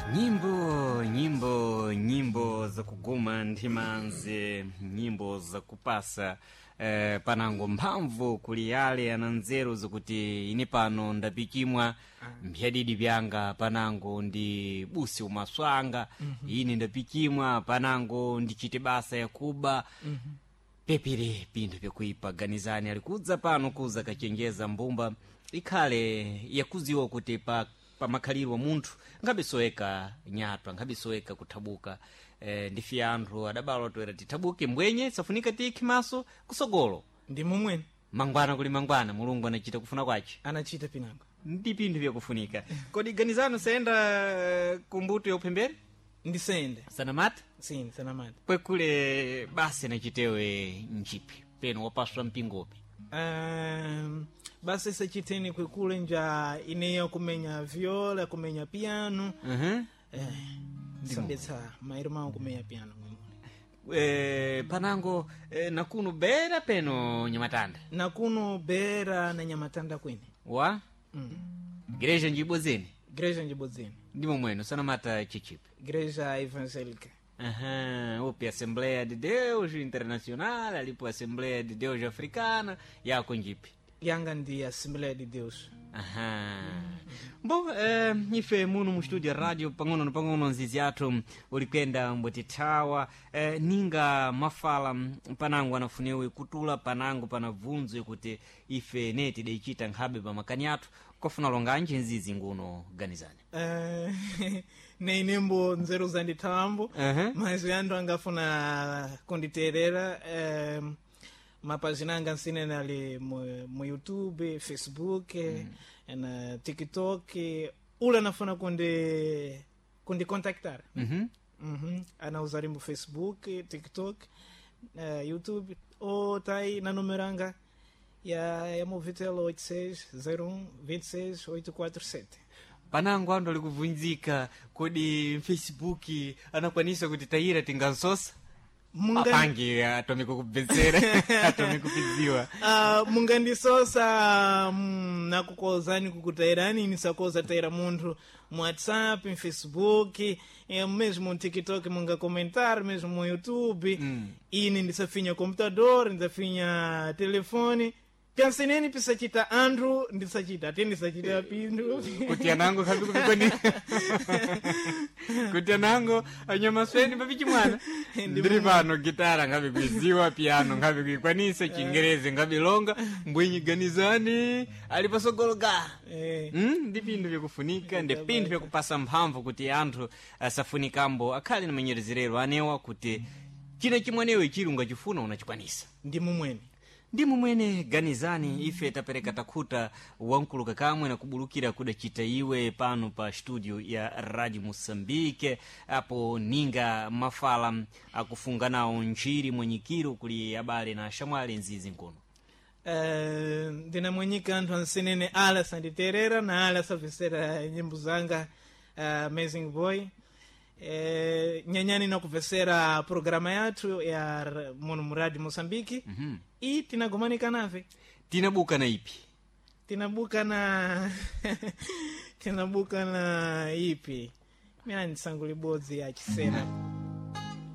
Nyimbo, nyimbo, nyimbo za kuguma nthimanzi, nyimbo za kupasa panango mphamvu kuli yale ana nzeru zikuti ine pano ndapichimwa mphiyadidi pyanga panango ndi busi umaswanga ine ndapichimwa panango ndichite basa yakuba pepire pinthu pyakuipa ganizani alikudza pano kuza kachenjeza mbumba ikhale yakuziwa kuti pa pamakhaliro munthu nkhabisoweka nyatwa nkhabisoweka kuthabuka ndife anthu adabala toera tithabuke mbwenye safunika tiyikhe maso kusogolo ndi momwene mangwana kuli mangwana Mulungu anachita kufuna kwace anachita pinango ndi pinthu vyakufunika kodi ganizani usayenda kumbuto ya uphembere ndisende sanamata sini sanamata kwekule basi nachitewe nchipi peno wapaswa mpingopi. Basi sachiteni kwekule nja ineyo kumenya viola, kumenya piano. Sambetsa mairo mawo kumenya piano mwemule. Panango nakuno bera peno nyamatanda. Nakuno bera na nyamatanda kwene. Wa Igreja njibodzeni. Igreja njibodzeni. Ndimo mweno sanamata chichipi. Igreja Evangélica. Aham, upi Assembleia de Deus Internacional, alipo Assembleia de Deus Africana, yako njipi? Yanga ndi Assembleia de Deus. Aham. Bom, ife muno mu studio radio pang'ono na pang'ono nzizi athu ulikwenda mbotithawa ninga mafala panango anafunewe kutula panango panabvunzwe kuti ife ne tidaichita nkhabe pa makani athu kofuna longanji nzizi nguno ganizani. Ne inembo nzeru zandithambo. Mas anthu angafuna kunditerera mapazina anga nsinene ali mu YouTube, Facebook, na TikTok. Ule anafuna kundicontactar. Ana mu Facebook, TikTok, YouTube ou tá aí na número anga ya Movitel 86 01 26 847. Panango anthu alikubvunzika kodi Facebook anakwanisa kuti tayira tingansosa? Apange atome kukubvetsera atome kupidziwa. Mungandisosa nakukozani kukutairani nisakoza taira munthu mu WhatsApp, mu Facebook, mesmo mu TikTok mungakomentar, mesmo mu YouTube. Ine ndisafinya computador, ndisafinya telefone pyanseneni pisachita anthu ndisachita ate ndisachita pinthu. Kuti anango khabi kupikoni kuti anango anyamasweni papichi mwana ndiri pano gitara ngabe kuiziwa piano ngabe kuikwanisa chingerezi ngabe longa mbwenyi ganizani ali pasogolo ga. Ndi pinthu vyakufunika ndi pinthu vyakupasa mphamvu kuti anthu asafunikambo akhale na manyerezerero anewa kuti china chimwenewe chili ungachifuna unachikwanisa. Ndi mumwene. Ndi mumwene ganizani ife tapereka takhuta wankuluka kamwe na kubulukira kudacita iwe pano pa studio ya Radio Moçambique apo ninga mafala akufunga nawo ntchiri mwenyikiro kuli abale na ashamwali nzizi nkono. Ndinamwenyika anthu ansenene ala sanditerera na ala samvesera nyimbo zanga, Amazing Boy. Nyanyani nakuvesera programa yathu ya muno mu Radio Moçambique. E tinagomanika nave. Tinabuka na ipi? Tinabuka na tinabuka na ipi mina ndisangulibodzi ya chisena.